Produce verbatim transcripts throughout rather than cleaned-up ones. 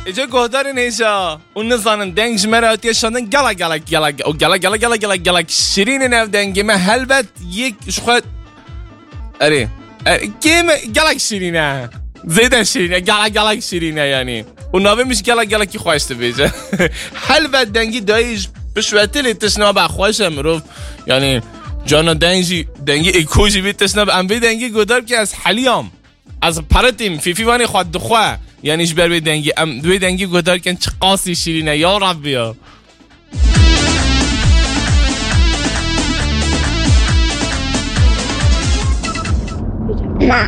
Êce guhdarên hêja û nizanin deng ji me re hatiye şandin, gelek, gelek, gelek, û gelek, gelek, gelek, gelek, gelek şirîn in ev dengê me, helbet yek ji xwe, erê, erê, kêm e, gelek şirîn e. Zêde şirîn e, gelek, gelek şirîn e yanî. Û navê min jî gelek, gelekî xweş dibêje. Helbet dengî dayî ji piştvetilê tişt nabe xweş e mirov. Yanî, cana deng jî, dengî êko jî vê tişt nabe. Em vê dengî guhdar bikin, ez heliyam. Ez peretîm, Fîfî vanê xwe dixwe. Yanî ji ber wê dengî, em wê dengî guhdar kin, çi qasî şîrîn e, ya Rebbi ya. Na,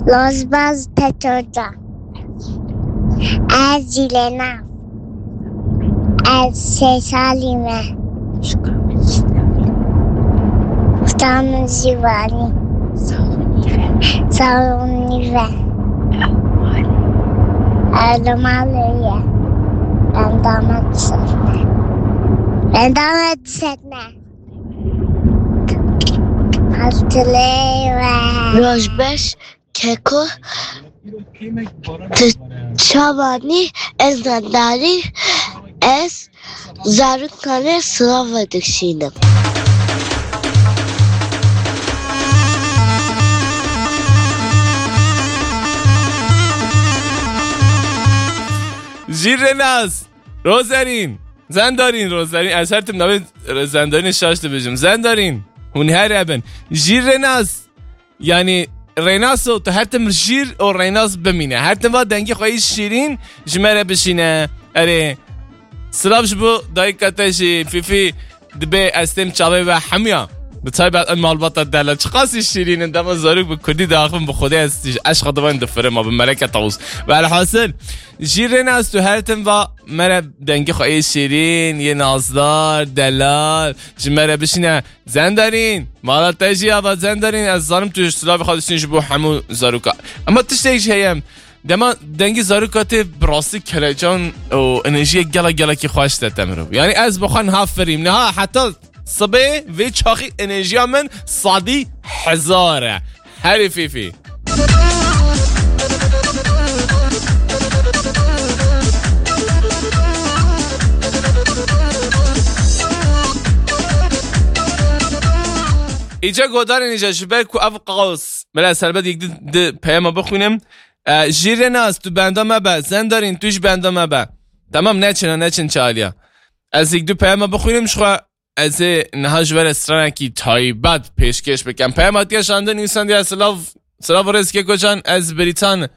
Lozbaz Petoca. Ez Cilena. Ez sê salî me. Usta min jî vanî. Sax û nîve. Sax û nîve. Ew li malê ye. Benda me disetne. Benda me disetne. Hatırlayın. Rojbeş Keko, tu çavanî, ez Zendarî, ez zarokanê silav vedişînim. Jîrrenaz, Rozerîn, Zendarîn, Rozerîn, ez her tim navê Zendarînê şaş dibêjim. Zendarîn, hûn her hebin. Jîrrenaz, Yanî, Rênaso, tu her tim jîr û Rênas bimîne. Her tim va dengê xwe yî şîrîn ji me re bişîne. Erê, silav ji bo dayika te jî, Fîfî, dibê ez têm çavê we hemiya. Bi taybet ev malbata delal. Çiqasî şîrîn in, dema zarok bi kurdî diaxivin, bi Xwedê ez tîj eşqa divan difirim, bi meleke tawus. Velhasil, jî Rênas, tu her tim va me re dengê xwe yê şîrîn, yê nazdar, delal, ji me re bişîne. Zendarîn, mala te jî ava Zendarîn, ez zanim tu silavê xwe dişîn ji bo hemû zaroka. Ema tiştek jî heye, dema dengî zaroka tê bi rastî kelecan û enerjiyek gelek gelekî xweş de te mirov. Yanî ez bi xwe niha firîm, niha heta sibê vê çaxî enerjiya min sadî hezar e. Herî Fîfî. Îca godarên îca ji ber ku ev qas, bila ez helbet yek di, di peyama bixwînim. E, Jîrrenaz, tu benda me be. Zendarîn, tu jî benda me be. Tamam, neçin, neçin çaliya. Ez yek du peyama bixwînim ji xwe. Ez ê niha ji we re stranekî taybet pêşkêş bikim. Peyama tiya şandin, însan diya silav, silav û rêz Keko can, ez Brîtan.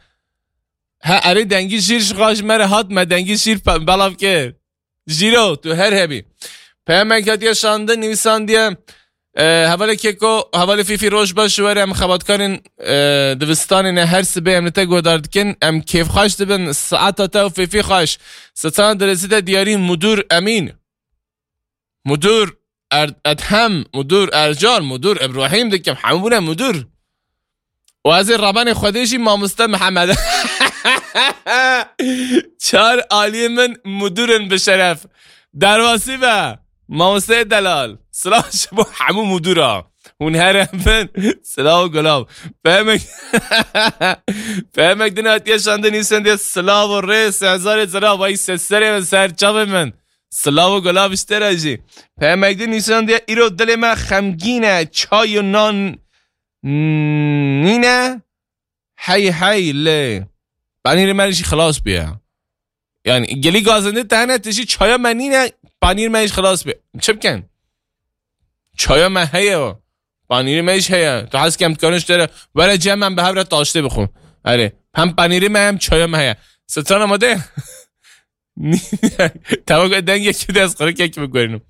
He, erê dengî jîr ji xwe ji me re hat, me dengî jîr pe-, belav kir. Jîro, tu her hebî. Peyamek hatiye şandin, nivîsandiye, e, hevalê Keko, hevalê Fîfî, roj baş ji we re, em xebatkarên, e, divistanê ne, her sibê em li te guhdar dikin, em kêfxweş dibin, saeta te û Fîfî xweş. Strana dirêzî de diyarî Mudur Emîn. Mudur Er-, Edhem, Mudur Ercan, Mudur Îbrahîm dikim, hemû bûne Mudur. Û ez ê rabanê Xwedê jî mamoste Mihemed. Çar aliyê min mudur in bi şeref. Derbasî be, mamosteyê delal. Silav ji bo hemû mudura. Hûn her hebin. Silav û gulav. Pemek, pemek din hatiye şandin, nivîsandiye silav û rê, sehzarê zira, vay seserê min, ser çavê min. Silav û gulav ji te re jî. Pemek din nivîsandiye, îro dilê me xemgîn e, çay û nan nîne. Hey hey lê. Panîrê me jî xilas bûye. Yani gelî gazinde te hene, tu jî çaya me nîne, panîr me jî xilas bûye. Çi bikin? Çaya me heye. Panîrê me jî heye. Tu hez kem dikarin ji te re. Were cem em bi hev re taştê bixwin. Erê. Hem panîrê me hem çaya me heye. Strana amade ye? Tamam, dengekî de ez qirikekî biguherînim.